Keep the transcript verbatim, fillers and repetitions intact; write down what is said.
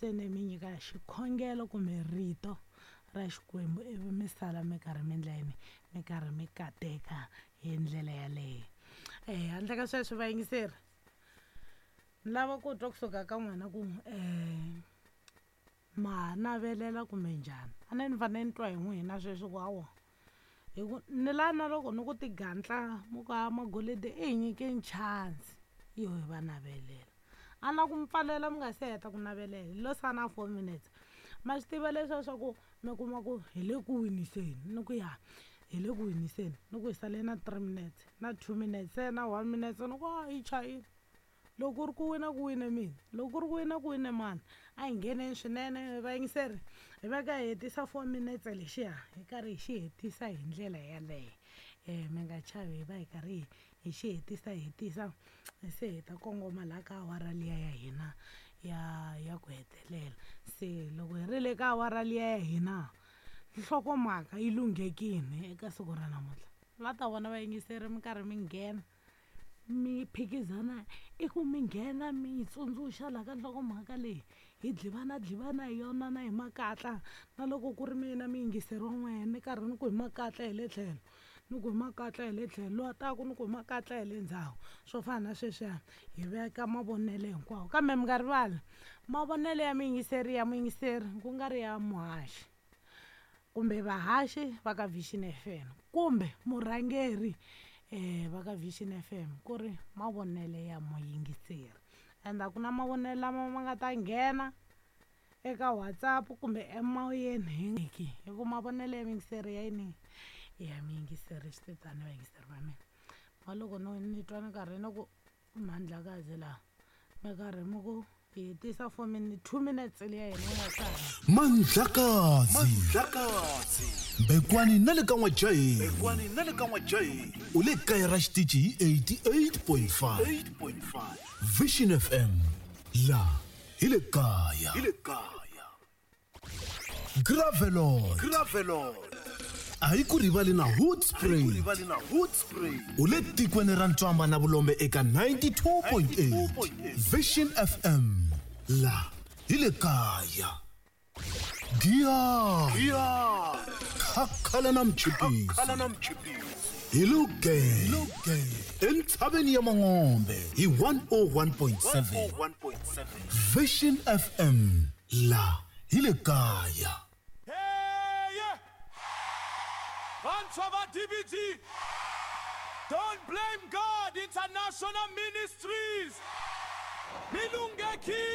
Se ni mi nyika xikhongelo kumbe rito ra Xikwembu, ivi mi sala mi karhi mi endla yini, mi karhi mi kateka hi ndlela yaleyo. um handle ka sweswo vayingiseri, ni lava ku twa kusuka ka n'wina ku um ma ha navelela kumbe njhani. A ni ni fanele ni twa hi n'wina sweswi ku hawa, hi ku ni la na loko ni ku tigantla mu ku a Magolide i hi nyikeni chance yo hi va navelela. A na ku mi pfalela mi nga se heta ku navelela, hi lo sala na four minutes. Ma swi tiva leswiya swa ku mi kuma ku hi le ku winiseni, ni ku ya hi le ku winiseni, ni ku hi sale na three minutes na two minutes, se na one minute, ni ku a yi chayile. Loko ku ri ku wina ku wine mina, loko ku ri ku wina ku wine mani. A hi ngheneni swinene vayingiseri, hi va ka hi hetisa four minutes lexiya, hi karhi hi xi hetisa hi ndlela yaleyo. um mi nga chavi, hi va hi karhi hi xi hetisa hetisa, se hi ta kongoma laha ka awara liya ya hina ya ya ku hetelela. Se loko hi ri le ka awara liya ya hina, nhlokomhaka yi lunghekile eka siku ra namuntlha. La ta vona vayingiseri mi karhi mi nghena mi phikizana, i ku mi nghena mi yi tsundzuxa laha ka nhlokomhaka leyi, hi dlivana dlivana hi yona na hi makatla. Na loko ku ri mina muyingiseri wa n'wehe, ni karhi ni ku hi makatla hi le tlhelo, ni ku hi makatla hi le tlhelo, loyi a taku ni ku hi makatla hi le ndzhaku, swo fana na sweswiya. Hi veka mavonelo hinkwawo, kambe mi nga rivali mavonelo ya muyingiseri ya muyingiseri, ku nga ri ya muhaxi kumbe vahaxi va ka Vision F M kumbe murhangeri um va ka Vision F M, ku ri mavonelo ya muyingiseri. Ende a ku na mavonelo lama ma nga ta nghena eka WhatsApp kumbe emoyeni hi hi ku mavonelo ya muyingiseri ya yini, ya muyingiseri. Swi te tani vayingiseri va mina, ma loko no ni twa ni karhi ni ku Mandlakazi laha mi karhi mi ku hi hetisa four minutes, two minutes liya hina yi nga sala. Mandlakazi, Mandlakazi, Mbekwani na le ka N'wajaheni, Mbekwani na le ka N'wajaheni, u le kaya ra xitichi hi eighty-eight point five Vision F M, la hi le kaya, hi le kaya. Gravelot, Gravelot, a yi ku rivali na Hood Spray, u le tikweni ra Ntswamba na Vulombe eka ninety-two point eight Vision F M, la hi le kaya. Giya, Khakhala na Mchipisi, hi Luge, entshaveni ya Mangombe hi one oh one point seven Vision F M, la hi le kaya. Vantshwa D B G, Don't Blame God International Ministries, Milungeki.